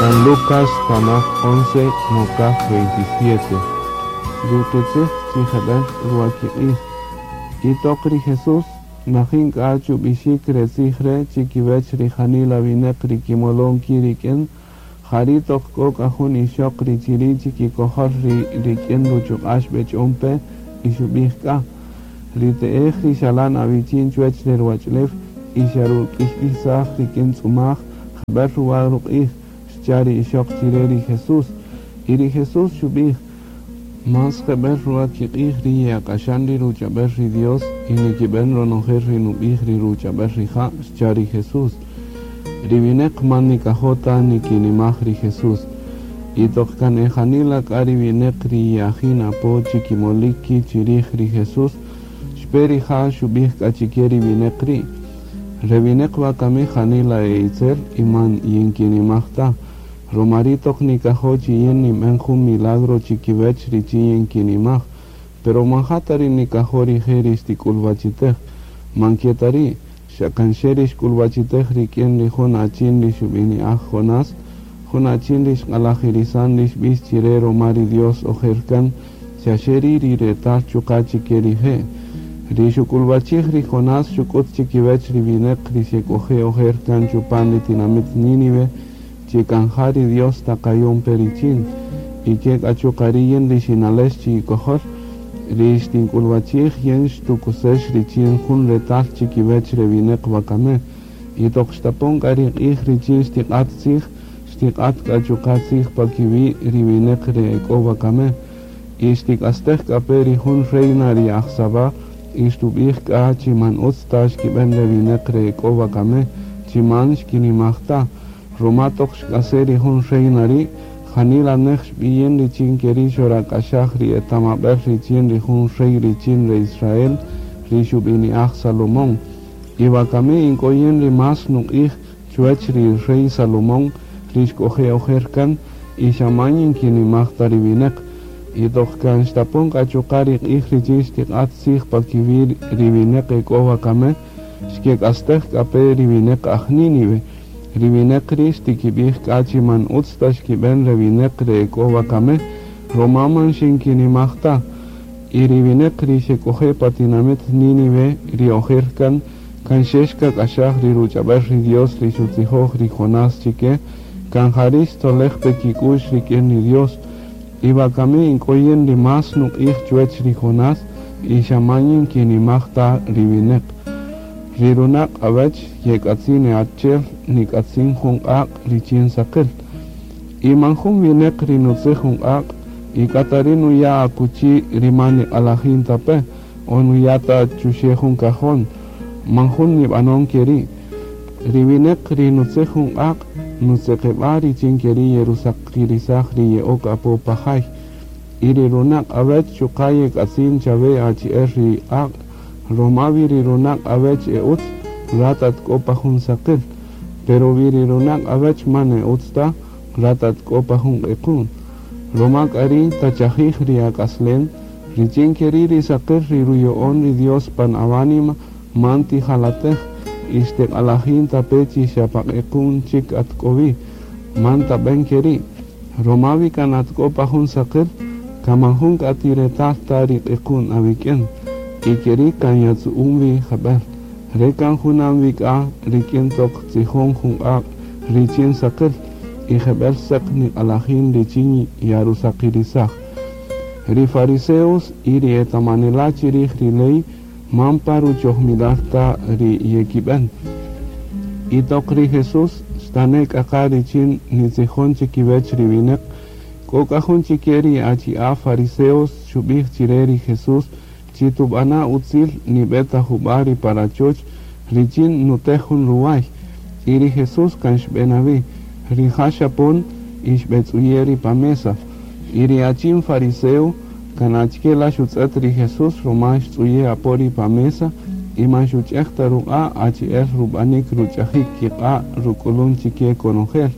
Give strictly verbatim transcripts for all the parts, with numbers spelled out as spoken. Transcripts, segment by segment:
San Lucas tanaj once mokaj veintisiete. Ri qitzij chi jeb'ël ruwakiq'ij. Y toq ri Jesús najin k'a chub'ixik re tzij re' chi kiwäch ri janila winäq ri kimolon ki' rik'in, ja ri' toq k'o k'a jun ixöq ri chi ri' chi kikojol ri rik'in ruchuq'a' xb'ech'on pe y xub'ij k'a: Ri te'ej ri xalan awichin chuwäch re ruwach'ulew y xaruk'iytisaj rik'in tz'umaj, jeb'ël ruwa ruq'ij, xcha' ri ixöq chi re ri Jesús. Y ri Jesús xub'ij: Más jeb'ël ruwa kiq'ij ri ye'ak'axan ri ruch'ab'äl ri Dios y nikib'än ronojel ri nub'ij ri ruch'ab'äl rija', xcha' ri Jesús. Ri winäq man nikajo' ta nikinimaj ri Jesús. Y toq kan e janila k'a ri winäq ri ye'ajin apo chi kimolik ki' chi rij ri Jesús, xpe rija' xub'ij k'a chi ke ri winäq ri': Re winäq wakami janila e itzel y man yinkinimaj ta. Ruma ri' toq nikajo' chi yin ninb'än jun milagro chi kiwäch richin yinkinimaj, pero man ja ta ri nikajo' rije' ri xtik'ulwachitej, man ke ta ri', xa kan xe ri xk'ulwachitej rik'in ri jun achin ri xub'ini'aj Jonás, jun achin ri xq'alajirisan ri xb'ix chi re ruma ri Dios ojer kan, xa xe ri' ri retal chuqa' chi ke rije'. Ri xuk'ulwachij ri Jonás xuk'ut chi kiwäch ri winäq ri xek'oje' ojer kan chupan ri tinamït Nínive, chi kan ja ri Dios taqayon pe richin, y ke k'a chuqa' ri' yin ri xinalex chi ikojol, ri xtink'ulwachij yin xtukusex richin jun retal chi kiwäch re winäq wakami. Y toq xtapon k'a ri q'ij richin xtiq'at tzij, xtiq'at k'a chuqa' tzij pa kiwi' ri winäq re e k'o wakami. Y xtik'astej k'a pe ri jun reina ri aj Sabá, y xtub'ij k'a chi man utz ta xkib'än re winäq re e k'o wakami, chi man xkinimaj ta. Ruma toq xk'ase' ri jun reina ri', janila nej xb'iyin richin ke ri' xorak'axaj ri etamab'äl richin ri jun rey richin re Israel, ri xub'ini'aj Salomón. Y wakami in k'o yin ri más nuq'ij chuwäch ri rey Salomón, ri xk'oje' ojer kan, y xa man yinkinimaj ta ri winäq. Y toq kan xtapon k'a chuqa' ri q'ij richin xtiq'at tzij pa kiwi' ri winäq e k'o wakami, xkek'astej k'a pe ri winäq aj Nínive. Ri winäq ri' xtikib'ij k'a chi man utz ta xkib'än re winäq re e k'o wakami, ruma man xinkinimaj ta. Y ri winäq ri xek'oje' pa tinamït Nínive ri ojer kan, kan xe xkak'axaj ri ruch'ab'äl ri Dios ri xutzijoj ri Jonás chi ke, kan ja ri' xtzolej pe kik'u'x rik'in ri Dios. Y wakami in k'o yin ri más nuq'ij chuwäch ri Jonás, y xa man yinkinimaj ta ri winäq. Ri runaq' awäch yek'atzin achi'el nik'atzin jun q'aq' richin saqil. Y man jun winäq ri nutzij jun q'aq' y k'a ta ri' nuya' akuchi ri man niq'alajin ta pe, o nuya' ta chuxe' jun cajón, man jun nib'anon ke ri'. Ri winäq ri nutzij jun q'aq' nutzeqeb'a' richin ke ri' yerusaqirisaj ri ye'ok apo pa jay. Y ri runaq' awäch chuqa' yek'atzin chawe achi'el ri q'aq', ruma wi ri runaq' awäch e utz, rat at k'o pa jun saqil, pero wi ri runaq' awäch man e utz ta, rat at k'o pa jun q'equn. Ruma k'a ri' tachajij ri ak'aslem, richin ke ri' ri saqil ri ruya'on ri Dios pan awánima man tijalatej, y xtiq'alajin ta pe chi xa pa q'equn chik at k'o wi, man tab'än ke ri'. Ruma wi kan at k'o pa jun saqil, kan man jun k'a tiretal ta ri q'equn awik'in, y ke ri' kan yatzu'un wi jeb'ël. Re kan junam wi k'a rik'in toq tzijon jun q'aq' richin saqil, y jeb'ël säq niq'alajin richin yarusaqirisaj. Ri fariseos y ri etamanela' chi rij ri ley man pa ruchojmilal ta ri yekib'än. Y toq ri Jesús xtane' k'a qa richin nitzijon chi kiwäch ri winäq, k'o k'a jun chi ke ri achi'a' fariseos xub'ij chi re ri Jesús chi tub'ana' utzil nib'e ta jub'a' ri pa rachoch richin nutej jun ruway. Y ri Jesús kan xb'e wi, rija' xapon y xb'etz'uye' ri pa mesa. Y ri achin fariseo kan achike la xutz'ët ri Jesús ruma xtz'uye' apo ri pa mesa y man xuch'ej ta ruq'a' achi'el rub'anik ruch'ajik kiq'a' ruk'ulun chi ke konojel.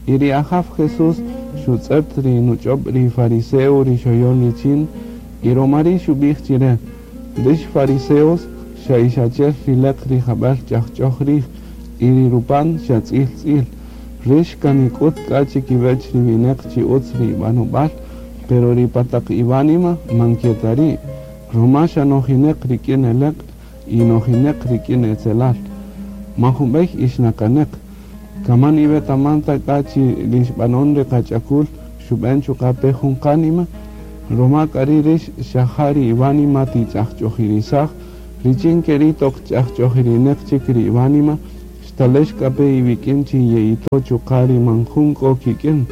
Y ri Ajaw Jesús xutz'ët ri nuch'ob' ri fariseo ri xoyon richin, y ruma ri' xub'ij chi re: Rix fariseos xa ix achi'el ri leq ri jab'äl ch'ajch'oj rij, y ri rupan xa tz'il tz'il. Rix kan nik'ut k'a chikiwech ri wineq chi utz ri ib'anob'al, pero ri pataq iwánima man ke ta ri'. Ruma xa nojineq rik'in eleq' y nojineq rik'in etzelal. Man junb'ey ixnakaneq. Kaman iwetaman ta k'a chi ri xb'anon ri qach'akul xub'en chuqa' pe jun qánima, ruma k'a ri' rix xa ja ri iwánima tich'ajch'ojirisaj, richin ke ri' toq ch'ajch'ojirineq chik ri iwánima, xtalex k'a pe iwik'in chi ye'ito chuqa' ri man jun k'o kik'in,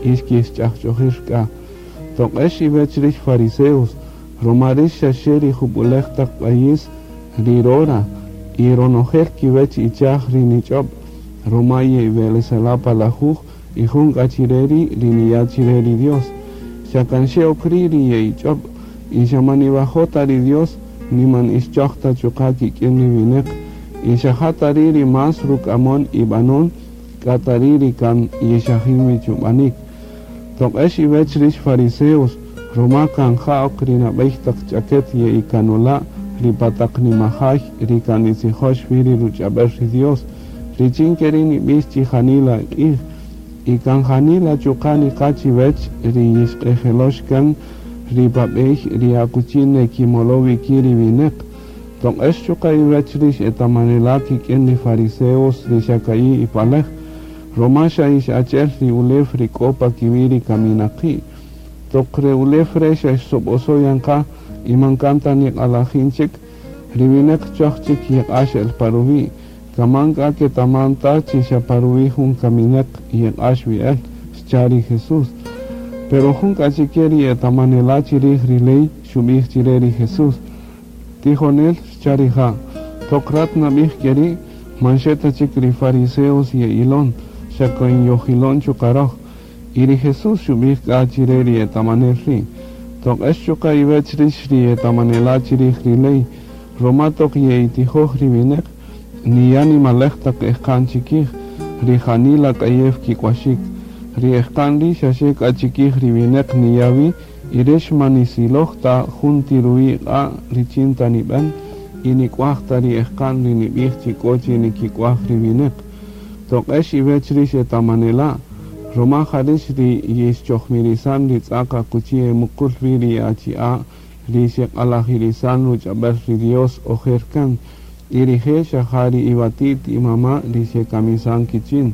y xkixch'ajch'ojir k'a. Toq'ex iwech rix fariseos, ruma rix xaxe ri jub'ulej taq q'ayis ri rora, y ronojel kiwech ichaj ri nich'ob', ruma ye'iwelesela' pa lajuj y jun k'a chire ri' ri niya' chire ri Dios. Xa kan xe ok ri' ri ye'ich'ob', y xa man niwajo' ta ri Dios, ni man ixchoj ta chuqa' kik'in ri wineq, y xa ja ta ri' ri más ruk'amon ib'anon, k'a ta ri' ri kan yixajin wi chub'anik. Toq'ex iwech rix fariseos, ruma kan ja ok ri nab'ey taq ch'aket ye'ikanola' ri pataq nimajay ri kan nitzijox wi ri ruch'ab'el ri Dios, richin ke ri' nib'ix chi janila q'ij, y kan janila chuqa' niqa chiwech ri yixq'ejelox kan ri pab'ey ri akuchi nekimolo wiki ri wineq. Toq'ex chuqa' iwech rix etamanela' kik'in ri fariseos ri xa ka'i' ipalej, ruma xa ix achi'el ri ulew ri k'o pa kiwi' ri kaminaqi'. Toq re ulew re' xa xsob'oso yan qa y man kan ta niq'alajin chik, ri wineq choj chik yeq'ax el pa ruwi'. Kaman k'a ketaman ta chi xa pa ruwi' jun kamineq yeq'ax wi el, xcha' ri Jesús. Pero jun k'a chike ri etamanela' chirij ri ley xub'ij chire ri Jesús. Tijonel, xcha' rija', toq rat nab'ij ke ri', man xe ta chik ri fariseos ye'ilon, xa kan yojilon chuqa' roj. Y ri Jesús xub'ij k'a chire ri etamanel ri'. Toq'ex chuqa' iwech rix ri etamanela' chirij ri ley, ruma toq ye'itijoj ri wineq, niya' nimalej taq ejqa'n chikij, ri janila k'ayew kik'waxik. Ri ejqa'n ri' xaxe k'a chikij ri wineq niya' wi, y rix man nisiloj ta jun ti ruwi' q'a' richin ta nib'en, y nik'waj ta ri ejqa'n ri nib'ij chi k'o chi nikik'waj ri wineq. Toq'ex iwech rix etamanela', ruma ja rix ri yixchojmirisan ri tz'aq akuchi emuqul wi ri achi'a' ri xeq'alajirisan ruch'ab'el ri Dios ojer kan, y rije' xa ja ri iwati't imama' ri xekamisan kichin.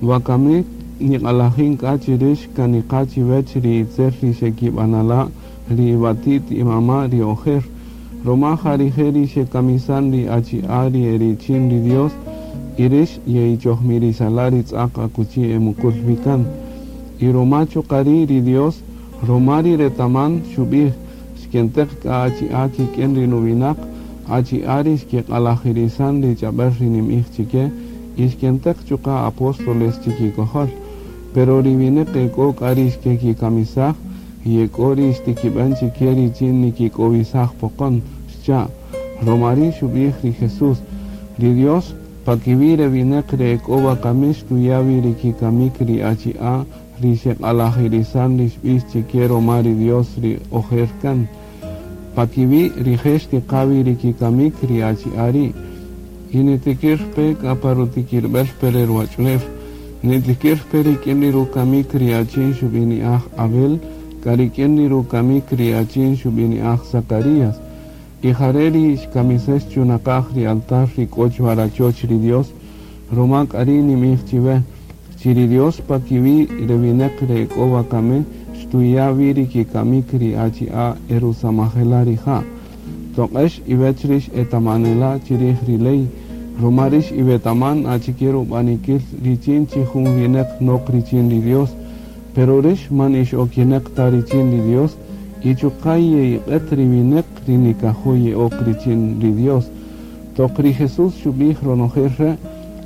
Wakami niq'alajin k'a chi rix kan niqa chiwech ri itzel ri xekib'anala' ri iwati't imama' ri ojer, ruma ja rije' ri xekamisan ri achi'a' ri erichin ri Dios, y rix ye'ichojmirisala' ri tz'aq akuchi emuqul wi kan. Y ruma chuqa' ri' ri Dios, ruma ri retaman xub'ij, xkenteq k'a achi'a' kik'in ri nuwinaq, achi'a' ri xkiq'alajirisan ri ch'ab'el ri nim'ij chike, y xkenteq chuqa' apóstoles chikikojol. Pero ri wineq ek'o k'a ri xkekikamisaj, y ek'o ri xtikib'an chike richin nikik'owisaj poqon, xcha'. Ruma ri' xub'ij ri Jesús, ri Dios pa kiwi' re wineq re ek'o wakami xtuya' wi ri kikamik ri achi'a' ri xeq'alajirisan ri xb'ix chike ruma ri Dios ri ojer kan. Pa kiwi' rije' xtiqa wi ri kikamik ri achi'a' ri'. Y nitikir pe k'a pa rutikirb'el pe re ruwach'ulew. Nitikir pe rik'in ri rukamik ri achin xub'ini'aj Abel, k'a rik'in ri rukamik ri achin xub'ini'aj Zacarías. Y jare' ri xkamisex chunaqaj ri altar ri k'o chwa rachoch ri Dios, ruma k'a ri' nim'ij chiwe, chi ri Dios pa kiwi' re wineq re k'o wakami xtuya' wi ri kikamik ri achi'a' erusamajela' rija'. Toq'ex iwech rix etamanela' chirij ri ley, ruma rix iwetaman achike rub'anikil richin chi jun wineq nok richin ri Dios, pero rix man ixokineq ta richin ri Dios, y chuqa' ye'iq'et ri wineq ri nikajo' ye'ok richin ri Dios. Toq ri Jesús xub'ij ronojel re',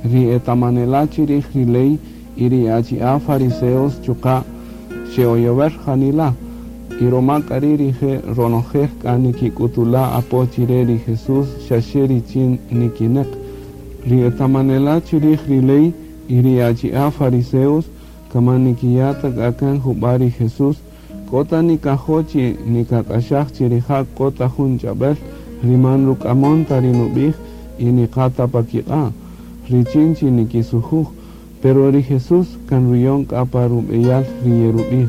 ri etamanela' chirij ri ley y ri achi'a' fariseos chuqa' xe'oyower janila'. Y ruma k'a ri' rije' ronojel k'a nikik'utula' apo chire ri Jesús xaxe richin nikineq. Ri etamanela' chirij ri ley y ri achi'a' fariseos kaman nikiya' ta k'a kan jub'a' ri Jesús, k'o ta nikajo' chi nikak'axaj chi rija' k'o ta jun ch'ab'el ri man ruk'amon ta ri nub'ij y niqa ta pa kiq'a', richin chi nikisujuj. Pero ri Jesús kan ruyon k'a pa rub'eyal ri yerub'ij.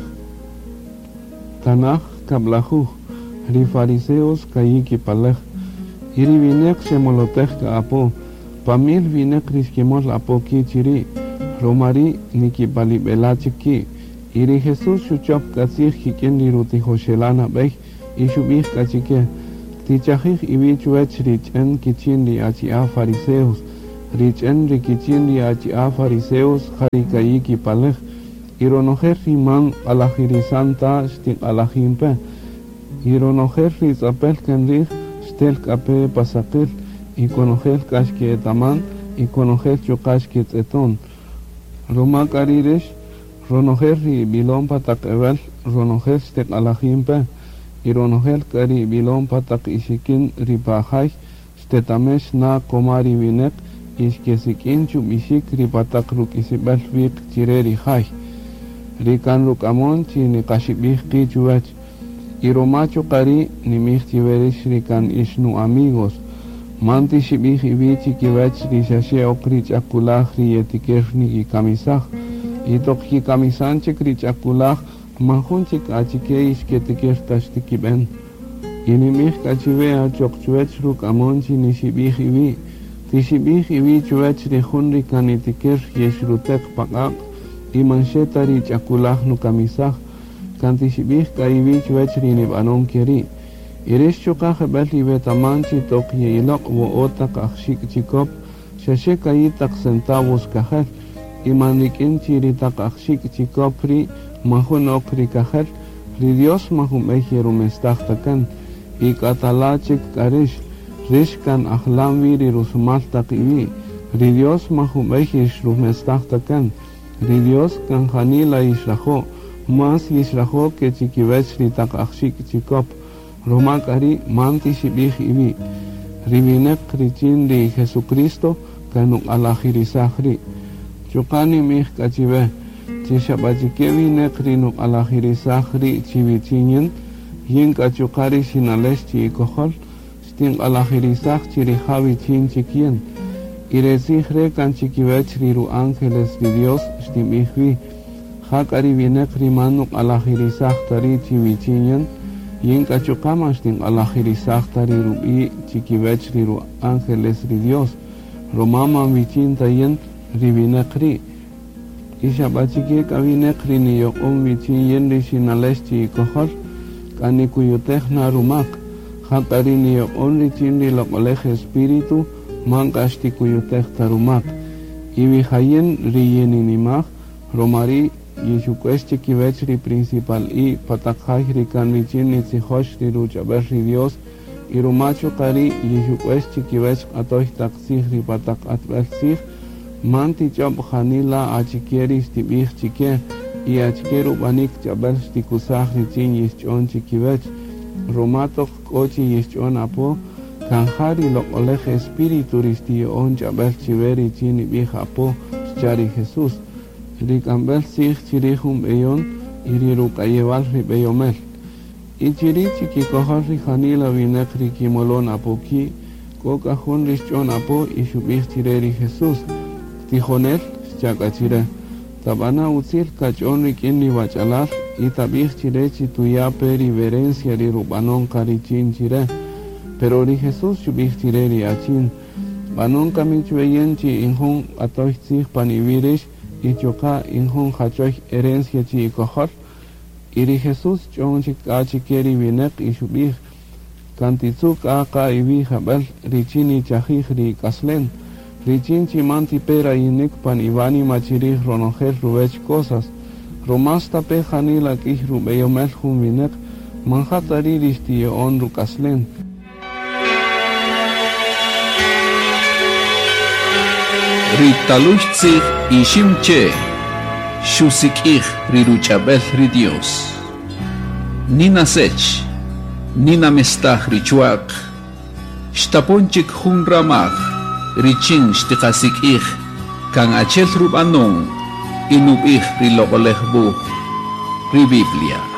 Tanaj kab'lajuj, ri fariseos ka'i' kipalej, y ri wineq xemolotej k'a apo, pa mil wineq ri xkimol apo ki' chiri', ruma ri' nikipalib'ela' chik ki'. Y ri Jesús xuchop k'a tzij kik'in ri rutijoxela' nab'ey y xub'ij k'a chike, tichajij iwi' chuwech ri ch'en kichin ri achi'a' fariseos, ri ch'en ri kichin ri achi'a' fariseos ja ri ka'i' kipalej, y ronojel ri man q'alajirisan ta xtiq'alajin pe, y ronojel ri tz'apel kan rij xtel k'a pe pa saqil, y konojel k'a xke'etaman, y konojel chuqa' xketz'eton. Ruma k'a ri' rix, ronojel ri ib'ilon pa taq ewel, ronojel xtiq'alajin pe, y ronojel k'a ri ib'ilon pa taq ixikin ri pa jay, xtetamex na koma ri wineq, y xkesik'in chub'ixik ri pa taq ruk'isib'äl wiq chire ri jay. Ri kan ruk'amon chi niqaxib'ij qi' chuwech. Y ruma chuqa' ri' nimij chiwe rix ri kan ix nu amigos. Man tixib'ij iwi' chikiwech ri xaxe ok ri ch'akulaj ri yetikir nikikamisaj. Y toq kikamisan chik ri ch'akulaj, man jun chik achike ixketikir ta xtikib'en. Y nimij k'a chiwe achoq chuwech ruk'amon chi nixib'ij iwi'. Tixib'ij iwi' chuwech ri jun ri kan nitikir yexruteq pa q'aq' y man xe ta ri ch'akulaj nukamisaj. Kan tixib'ij k'a iwi' chuwech ri nib'anon ke ri'. Y rix chuqa' jeb'el iwetaman chi toq ye'iloq' wo'o taq ajxik' chikop, xaxe ka'i' taq centavos kajel, y man rik'in chi ri taq ajxik' chikop ri' man jun ok ri kajel, ri Dios man jun b'ey yerumestaj ta kan, y k'atala' chik k'a rix, rix kan ajlan wi ri rusumal taq iwi', ri Dios man jun b'ey yixrumestaj ta kan, ri Dios kan janila yixrajo', más yixrajo' ke chikiwech ri taq ajxik' chikop, ruma k'a ri' man tixib'ij iwi'. Ri wineq richin ri Jesucristo kan nuq'alajirisaj ri'. Chuqa' nimij k'a chiwe, chi xab'achike wineq ri nuq'alajirisaj ri' chiwichin yin, yin k'a chuqa' ri xinalex chi ikojol, xtinq'alajirisaj chi rija' wichin chik yin. Y re tzij re' kan chikiwech ri ru-ángeles ri Dios xtinb'ij wi. Ja k'a ri wineq ri man nuq'alajirisaj ta ri' chiwichin yin, yin k'a chuqa' man xtinq'alajirisaj ta ri rub'i' chikiwech ri ru-ángeles ri Dios, ruma man wichin ta yin ri wineq ri'. Y xab'achike k'a wineq ri niyoq'on wichin yin ri xinalex chi ikojol, k'a nikuyutej na rumak. Ja k'a ri niyoq'on richin ri loq'olej Espíritu, man k'a xtikuyutej ta rumak. Y wijayin ri yininimaj, ruma ri' yixuk'uex chikiwech ri principal i pa taq jay ri kan richin nitzijox ri ruch'ab'el ri Dios, y ruma chuqa' ri' yixuk'uex chikiwech q'atoy taq tzij ri pa taq q'atb'el tzij, man tich'ob' janila achike ri xtib'ij chike, y achike rub'anik ch'ab'el xtikusaj richin yixch'on chikiwech, ruma toq k'o chi yixch'on apo, kan ja ri loq'olej Espíritu ri xtiyo'on ch'ab'el chiwe richin nib'ij apo, xcha' ri Jesús. Ri k'amb'el tzij chirij jun b'eyon y ri ruk'ayewal ri b'eyomel. Y chiri' chikikojol ri janila wineq ri kimolon apo ki', k'o k'a jun ri xch'on apo y xub'ij chire ri Jesús, tijonel, xcha' k'a chire, tab'ana' utzil kach'on rik'in ri wach'alal y tab'ij chire chi tuya' pe ri herencia ri rub'anon qa richin chire. Pero ri Jesús xub'ij chire ri achin, b'anon kami chwe yin chi in jun q'atoy tzij pan iwi' rix y chuqa' in jun jachoy herencia chi ikojol. Y ri Jesús ch'on chik k'a chike ri wineq y xub'ij, kan titzu' k'a qa iwi' jab'el richin nichajij ri k'aslen, richin chi man tipe rayinik pan iwánima chirij ronojel ruwech cosas, ruma stape janila k'ij rub'eyomel jun wineq, man ja ta ri' ri xtiyo'on ruk'aslen. Ri talux tzij iximche xusik'ij ri ruch'ab'el ri Dios. Nina sech, nina mestaj ri chuaq, xtapon chik jun ramaj, richin xtiqasik'ij, kan achel rub'anon, y nub'ij ri loq'olej wuj, ri Biblia.